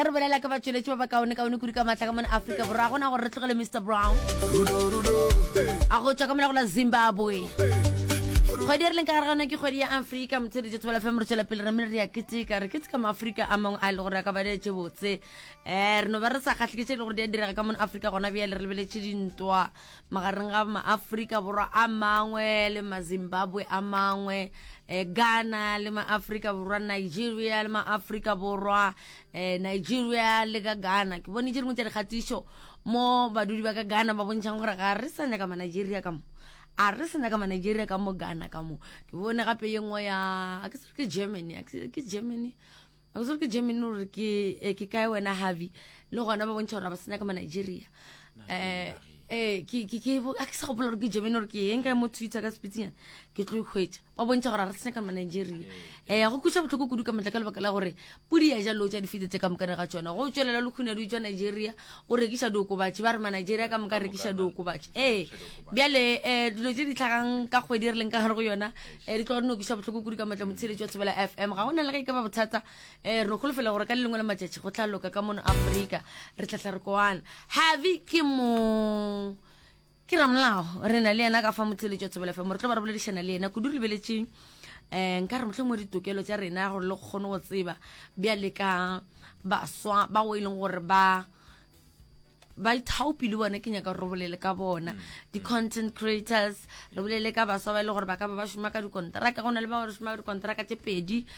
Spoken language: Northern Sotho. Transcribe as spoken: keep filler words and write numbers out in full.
Ge re bolela ka batšweletši ba bakaone-kaone kudu ka maatla ka mona Afrika Borwa, ga gona gore re tlogele Mister Brown a go tšwa ka mola go la Zimbabwe. Kgwedi e re leng ka gare ga yona ke kgwedi ya Afrika. Motheletši Thobela F M, re tšwela pele re mme re ya keteka, re keteka Maafrika a mangwe a e le gore a ka ba dietše botse. um re no ba re sa kgahle ke tše e le gore di a direga ka mona Afrika gona bjale. Re lebeletše dintwa magareng ga Maafrika Borwa a mangwe le Mazimbabwe a mangwe, um Ghana le Maafrika Borwa, Nigeria le Maafrika Borwa, um Nigeria le ka Ghana. Ke bone tše dingwe tša dikgatišo mo badudi ba ka Ghana ba bontšhang gore ga re sa nyaka Manigeria ka mo, a re sa nyaka Manigeria ka mo Ghana ka mo. Ke bone gape ye nngwe ya, a ke se re ke Germany, a ke se- ke Germany, a ke se re ke Germany gore ke eh, ke kae wena Harvey, le gona ba bontšha gore ga ba sa nyaka Manigeria. um eh ke ke ke a ke sa gopola gore ke Germany gore ke eng kae. Mo Twitter ka sepitsinyana ke tlo ikhwetša ba bontšha gore ga re sa nyaka Manigeria. um go kweša bohloko kudu ka matla ka lebaka la gore pudi ya ja lotša difete tse ka mokane ga tšona. Go tšwelela lekhune di tswa Nigeria o rekiša diokobatši, ba re Manigeria ka moka rekiša diokobatši. Ee, bjale um dilo tše di tlhagang ka kgwedi re leng ka gare go yona um di tloga di no kweša bohloko kudu ka matla. Motsheletši wa Thobela F M, ga go na le ge e ka ba bothata. um re no kgolofela gore ka le lengwe la matšatši go tla loka ka mono Afrika, re tlatla re koana. Harvey ke mo ke ramolao, re na le yena ka fa motheletši wa Thobela F M. Re tlo ba re boledišana le yena kudu re lebeletše um nka re motlho mo ditokelo tša rena gore le kgone go tseba bjale ka baswa ba go e leng gore ba ba ithaopi le bona. Ke nyaka gore re bolele ka bona di-content creators, re bolele ka baswa ba e le gore ba ka ba ba šoma ka dikonteraka. Go na le ba gore šoma ka dikonteraka tše pedi.